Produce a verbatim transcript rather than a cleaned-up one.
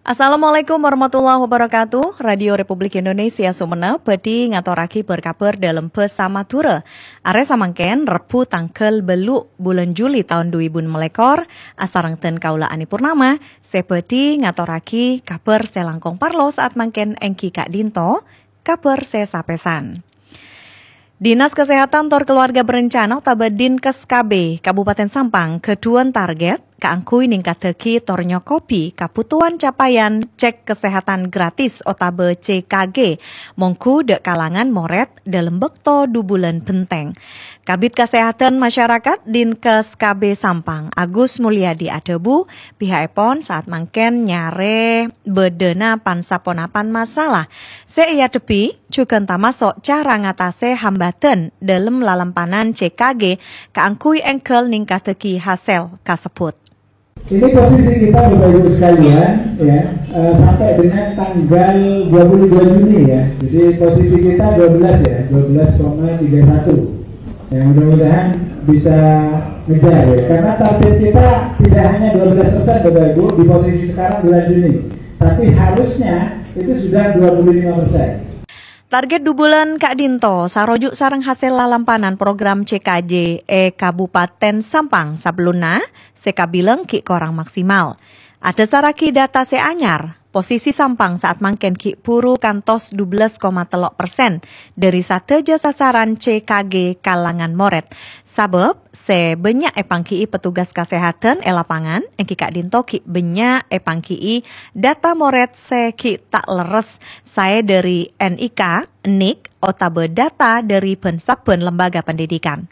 Assalamualaikum warahmatullahi wabarakatuh. Radio Republik Indonesia Sumenep bhâdhi ngatorraghi bâr-kabhâr dâlem bhâsa Madhurâ. Arè samangkèn, Rebbhu tangghâl bâllu' bulân Juli taon dhu èbu ennem lèkor, asareng dân kaulâ Ani Purnama, sè bhâdhi ngatorraghi kabhâr sè langkong parlo saat mangkèn èngghi ka'dinto, kabhâr sè sapèsan. Dinas Kesehatan tor Keluarga Berencana otabâ Dinkes K B Kabupaten Sampang ghâdhuwân target kaangghuy ningkaddhâghi tor nyokobi kabhutowan capaian cek kesehatan gratis otabâ C K G mongghu dâ' kalangan morèd dâlem bâkto dhu bulân bhenteng. Kabid Kasehatan Masyarakat Dinkes K B Sampang, Agus Mulyadi adhâbu, piha'èpon saat mangkèn nyarè bâdâna pan-saponapan masalah sè èadhebbhi, jhughân tamaso' cara ngatasè hambâdhân dâlem lalampanan C K G kaangghuy èngghâl ningkaddhâghi hasèl kasebbhut. Ini posisi kita, Bapak Ibu sekalian, ya, eh, sampai dengan tanggal dua puluh dua Juni, ya. Jadi posisi kita dua belas, ya, dua belas koma tiga satu. Ya, mudah-mudahan bisa ngejar, ya. Karena target kita tidak hanya dua belas persen, Bapak Ibu, di posisi sekarang bulan Juni. Tapi harusnya itu sudah dua puluh lima persen. Target dhu bulân ka'dinto saroju' sareng hasèl lalampanan program C K J è Kabupaten Sampang sabellunna sè kabilang ghi' korang maksimal. Adhâsarraghi data sè anyar, posisi Sampang saat mangkèn ghi' buru kantos dhu belas koma tello persen dâri sadhâjâ sasaran C K G kalangan morèd. Sabâb sè bânnya' èpangghi'i petugas kasehatan è lapangan, èngghi ka'dinto ghi' bânnya' èpangghi'i data morèd sè ghi' ta' lerres saè dâri N I K, nik, otabâ data dâri bân-sabbhân lembaga pendidikan.